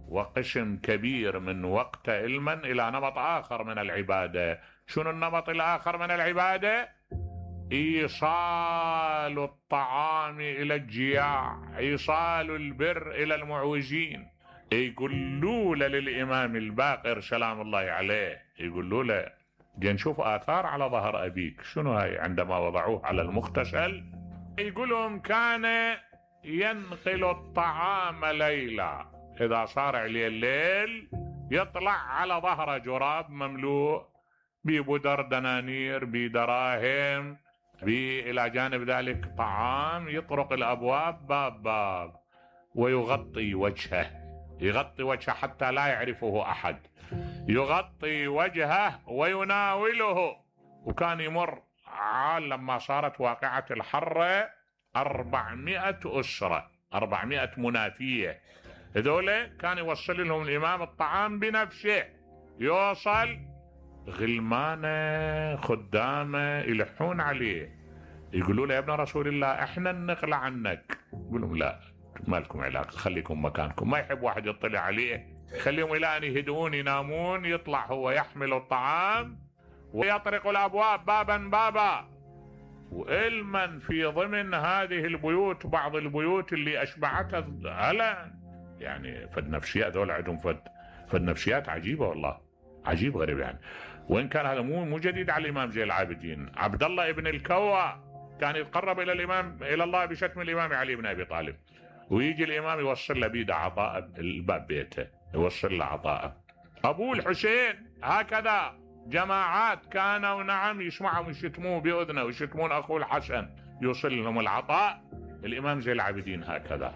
وقسم كبير من وقته علما إلى نمط آخر من العبادة. شنو النمط الآخر من العبادة؟ إيصال الطعام إلى الجياع، إيصال البر إلى المعوزين. يقولوا له للإمام الباقر سلام الله عليه، يقولوا له جي نشوف آثار على ظهر أبيك، شنو هاي؟ عندما وضعوه على المغتسل يقولهم كان ينقل الطعام ليلا، إذا صار عليه الليل يطلع على ظهر جراب مملوء ببدر دنانير بدراهم، إلى جانب ذلك طعام، يطرق الأبواب باب باب ويغطي وجهه، يغطي وجهه حتى لا يعرفه أحد، يغطي وجهه ويناوله. وكان يمر لما صارت واقعة الحرة 400 أسرة، 400 منافية، هذول كان يوصل لهم الإمام الطعام بنفسه، يوصل غلمانه خدامه يلحون عليه، يقولوا له يا ابن رسول الله احنا نقلع عنك، يقول لهم لا ما لكم علاقة، خليكم مكانكم. ما يحب واحد يطلع عليه، خليهم الى ان يهدؤون ينامون، يطلع هو يحمل الطعام ويطرق الابواب بابا بابا. وإلمن في ضمن هذه البيوت بعض البيوت اللي اشبعتها هلا يعني فد نفسيات، ذول عندهم فد نفسيات عجيبة والله، عجيب غريب يعني. وإن كان هذا مو جديد على الإمام زين العابدين. عبد الله ابن الكوى كان يتقرب إلى الإمام إلى الله بشتم الإمام علي بن أبي طالب، ويجي الإمام يوصل له بيده عطاء الباب بيته، يوصل له عطاء. أبو الحسين هكذا جماعات كانوا نعم يسمعهم يشتموه بأذنه ويشتمون أخوه الحسن، يوصل لهم العطاء. الإمام زين العابدين هكذا.